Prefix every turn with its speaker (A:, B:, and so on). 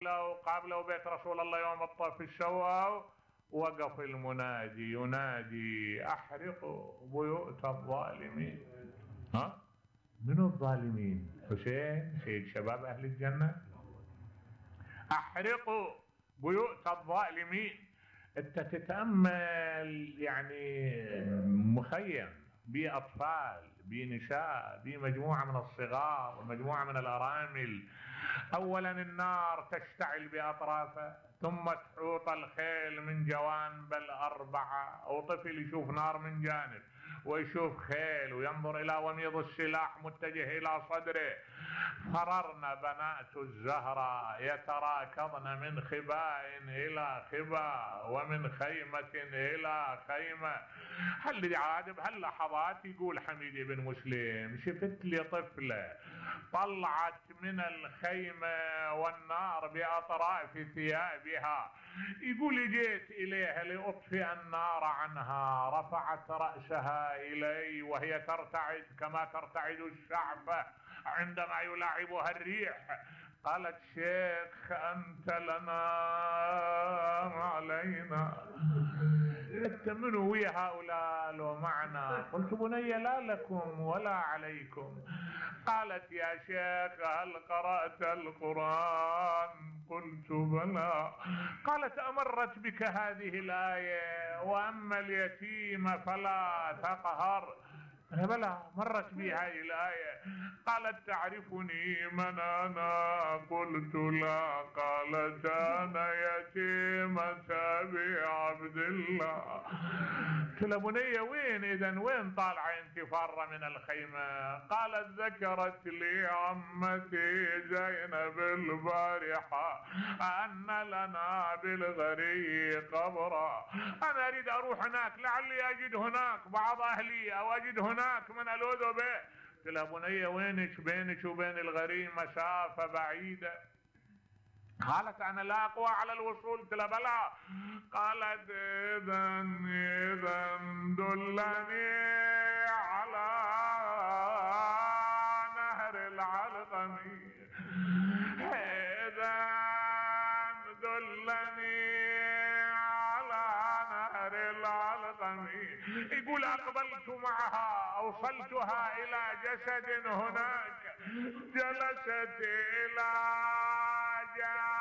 A: لو قابلوا بيت رسول الله يوم الطف الشوا، وقف المنادي ينادي: احرقوا بيوت الظالمين. ها؟ منو الظالمين؟ حسين سيد شباب اهل الجنة. احرقوا بيوت الظالمين. انت تتأمل يعني مخيم بيه اطفال، بيه نساء، بيه مجموعة من الصغار ومجموعة من الارامل. اولا النار تشتعل باطرافه، ثم تحوط الخيل من جوانب الاربعة، او طفل يشوف نار من جانب ويشوف خيل وينظر الى وميض السلاح متجه الى صدره. فررن بنات الزهراء يتراكضن من خباء الى خباء ومن خيمة الى خيمة. هاللحظات يقول حميد بن مسلم: شفت لي طفلة طلعت من الخيمة والنار باطراف ثيابها. يقول جيت اليها لاطفئ النار عنها، رفعت رأسها الي وهي ترتعد كما ترتعد الشعفة عندما يلاعبها الريح. قالت: شيخ أنت لنا علينا، أنت منو ويا هؤلاء لو معنا؟ قلت: بني لا لكم ولا عليكم. قالت: يا شيخ هل قرأت القرآن؟ قلت: بلى. قالت: أمرت بك هذه الآية: وأما اليتيم فلا تقهر؟ بلى مرت بي هذه الآية. قالت: تعرفني من أنا؟ قلت: لا. قالت: أنا يتيمة أبي عبد الله. قلت لها: بنية وين إذن؟ وين طالعة انت فارة من الخيمة؟ قالت: ذكرت لي عمتي زينب البارحة أن لنا بالغري قبرا، أنا أريد أروح هناك لعلي أجد هناك بعض أهلي أو أجد هناك من ألوذ به. قلت لها: بنية وينك؟ بينك وبين الغري مسافة بعيدة. قالت: أنا لا أقوى على الوصول. قلت لها: بلى. قالت: إذن دلني على نهر العلقم. إذن دلني على نهر العلقم. يقول: أقبلت معها أوصلتها إلى جسد هناك، جلست إلى جانب